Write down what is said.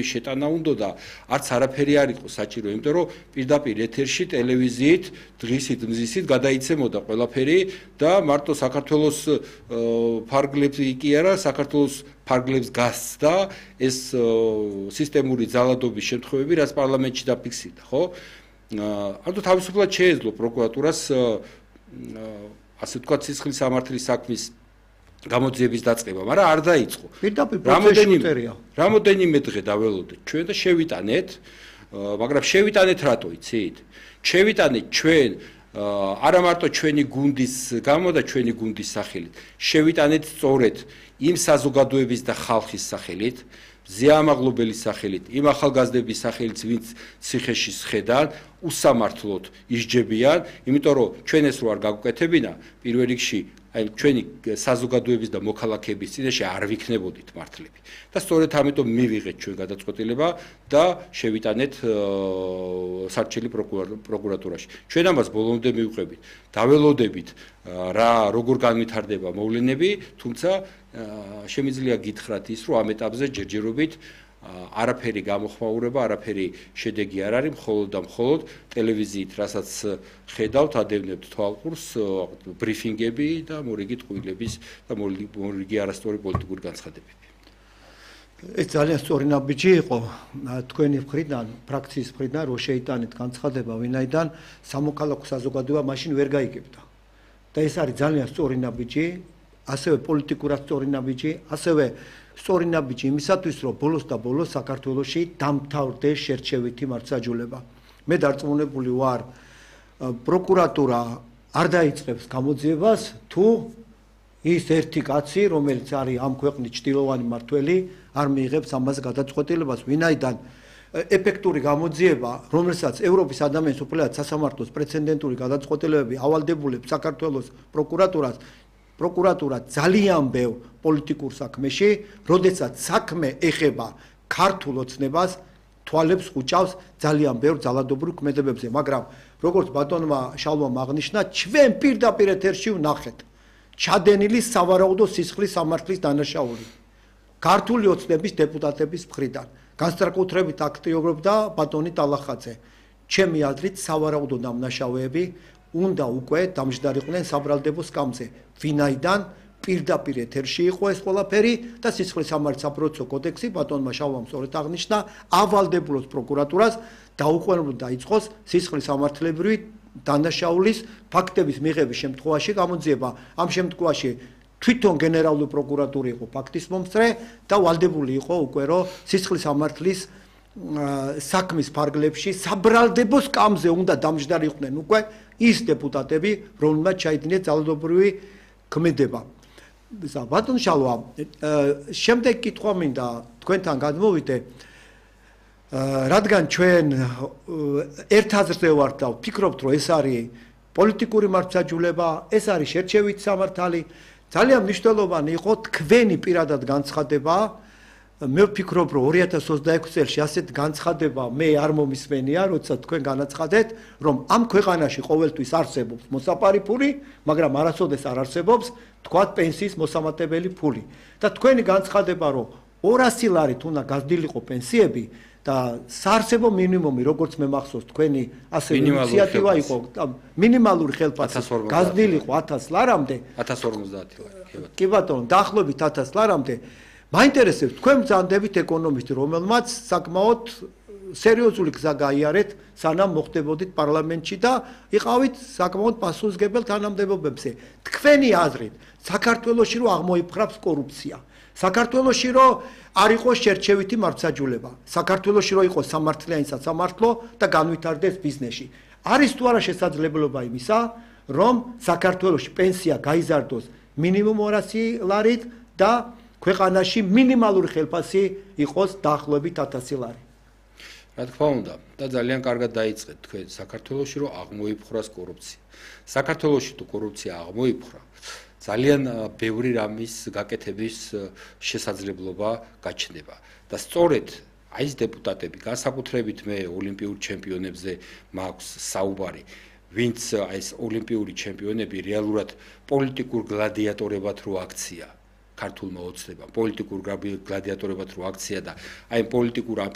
შეტანა უნდა და არც არაფერი არ იყო საჭირო, იმიტომ რომ პირდაპირ ეთერში ტელევიზიით დღისით მზისით გადაიცემოდა ყველაფერი და მარტო საქართველოს ფარგლებს კი არა, საქართველოს ფარგლებს გასცდა ეს სისტემური ძალადობის შემთხვევები, რაც პარლამენტში დაფიქსირდა, ხო? ანუ თავისუფლად შეეძლო პროკურატურას ასე ვთქვათ სისხლის სამართლის საქმის გამოძიების დაწყება, მაგრამ არ დაიწყო. პირდაპირ პროცესში უტერია. რამოდენიმე დღე დაველოდეთ ჩვენ და შევიტანეთ, მაგრამ შევიტანეთ რატო იცით? შევიტანეთ ჩვენ არა მარტო ჩვენი გუნდის გამო და ჩვენი გუნდის სახელით, შევიტანეთ სწორედ იმ საზოგადოების და ხალხის სახელით, ზეამაღლობელის სახელით, იმ ახალგაზრდების სახელით, ვინც ციხეში სხედან, უსამართლოდ ისჯებიან, იმიტომ რომ ჩვენ ეს რო არ გაგვკეთებინა, პირველ რიგში აი ჩვენი საზოგადოების და მოქალაქეების წინაშე არ ვიქნებოდით მართლები. და სწორედ ამიტომ მივიღეთ ჩვენ გადაწყვეტილება და შევიტანეთ სარჩელი პროკურატურაში. ჩვენ ამას ბოლომდე მივყვებით. დაველოდებით რა როგორ განვითარდება მოვლენები, თუმცა შემიძლია გითხრათ ის, რომ ამ ეტაპზე ჯერჯერობით არაფერი გამოხმაურება, არაფერი შედეგი არ არის, მხოლოდ და მხოლოდ ტელევიზიით, რასაც ხედავთ, ადევნებთ თვალყურს, ბრიფინგები და მორიგი ტყუილების და მორიგი არასწორი პოლიტიკური განცხადებები. ეს ძალიან სწორი ნაბიჯი იყო თქვენი მხრიდან, ფრაქციის მხრიდან, რომ შეიტანეთ განცხადება, ვინაიდან სამოქალაქო საზოგადოება მაშინ ვერ გაიგებდა. და ეს არის ძალიან სწორი ნაბიჯი, ასევე პოლიტიკურად სწორი ნაბიჯი, ასევე სწორი ნაბიჯი იმისათვის, რომ ბოლოს და ბოლოს საქართველოში დამთავრდეს შერჩევითი მართლმსაჯულება. მე დარწმუნებული ვარ, პროკურატურა არ დაიწყებს გამოძიებას, თუ ის ერთი კაცი, რომელიც არის ამ ქვეყნის ჭრილოვანი მმართველი, არ მიიღებს ამას გადაწყვეტილებას, ვინაიდან ეფექტური გამოძიება, რომელსაც ევროპის ადამიანის უფლებათა სასამართლოს პრეცედენტული გადაწყვეტილებები ავალდებულებს საქართველოს პროკურატურა ძალიან ბევრ პოლიტიკურ საქმეში, როდესაც საქმე ეხება ქართულ ოცნებას, თვალებს ხუჭავს ძალიან ბევრ ძალადობრივ ქმედებებზე, მაგრამ როგორც ბატონმა შალვამ აღნიშნა, ჩვენ პირდაპირ ეთერში ვნახეთ ჩადენილი სავარაუდო სისხლის სამართლის დანაშაული ქართული ოცნების დეპუტატების მხრიდან. განსაკუთრებით აქტიურობდა ბატონი ტალახაძე. ჩემი აზრით სავარაუდო დამნაშავეები უნდა უკვე დამჯდარიყვნენ საბრალდებო სკამზე, ვინაიდან პირდაპირ ეთერში იყო ეს ყველაფერი და სისხლის სამართლის საპროცესო კოდექსი ბატონმა შალვამ სწორედ აღნიშნა, ავალდებულოს პროკურატურას დაუყოვნებლივ დაიწყოს სისხლის სამართლებრივი დანაშაულის ფაქტების მიღების შემთხვევაში გამოძიება. ამ შემთხვევაში თვითონ გენერალური პროკურატურა იყო ფაქტის მომსწრე და ვალდებული იყო უკვე რომ სისხლის სამართლის საქმის ფარგლებში საბრალდებო სკამზე უნდა დამჯდარიყვნენ უკვე ის დეპუტატები, რომლებმაც ჩაიდინეს ძალადობრივი ქმედება. ბატონ შალვა, შემდეგ კითხვა მინდა თქვენთან გადმოვიდე, რადგან ჩვენ ერთ აზრზე ვართ და ვფიქრობთ, რომ ეს არის პოლიტიკური მართლმსაჯულება, ეს არის შერჩევითი სამართალი, ძალიან მნიშვნელოვანი იყო თქვენი პირადად განცხადება. მე ვფიქრობ, რომ 2026 წელს ასეთ განცხადება მე არ მომისმენია, როცა თქვენ განაცხადეთ, რომ ამ ქვეყანაში ყოველთვის არსებობს მოსაპარი ფული, მაგრამ არასოდეს არ არსებობს თქვათ პენსიის მოსამატებელი ფული. და თქვენი განცხადება, რომ 200 ლარით უნდა გაზრდილიყო პენსიები და საარსებო მინიმუმი, როგორც მე მახსოვს, თქვენი ასე ინიციატივა იყო, მინიმალური ხელფასი გაზრდილიყო 1000 ლარამდე, 1050 ლარი. კი ბატონო, დაახლოებით 1000 ლარამდე. მაინტერესებს თქვენ ბრძანდებით ეკონომისტი, რომელმაც საკმაოდ სერიოზული გზა გაიარეთ, სანამ მოხდებოდით პარლამენტში და იყავით საკმაოდ პასუხისმგებელ თანამდებობებზე. თქვენი აზრით, საქართველოში რო აღმოიფხვრავს კორუფცია, საქართველოში რო არ იყოს შერჩევითი მართლმსაჯულება, საქართველოში რო იყოს სამართლიანი სასამართლო და განვითარდეს ბიზნესი. არის თუ არა შესაძლებლობა იმისა, რომ საქართველოში პენსია გაიზარდოს მინიმუმ 200 ლარით და ქვეყანაში მინიმალური ხელფასი იყოს დაახლოებით 1000 ლარი. რა თქმა უნდა, და ძალიან კარგად დაიწყეთ თქვენ საქართველოში რომ აღმოიფხვრას კორუფცია. საქართველოში თუ კორუფცია აღმოიფხვრა, ძალიან ბევრი რამის გაკეთების შესაძლებლობა გაჩნდება. და სწორედ აი ეს დეპუტატები, განსაკუთრებით მე ოლიმპიურ ჩემპიონებზე მაქვს საუბარი, ვინც აი ეს ოლიმპიური ჩემპიონები რეალურად პოლიტიკურ გლადიატორებად რო აქცია. ქართულმა ოცნებამ პოლიტიკურ გლადიატორებად რო აქცია და აი პოლიტიკურ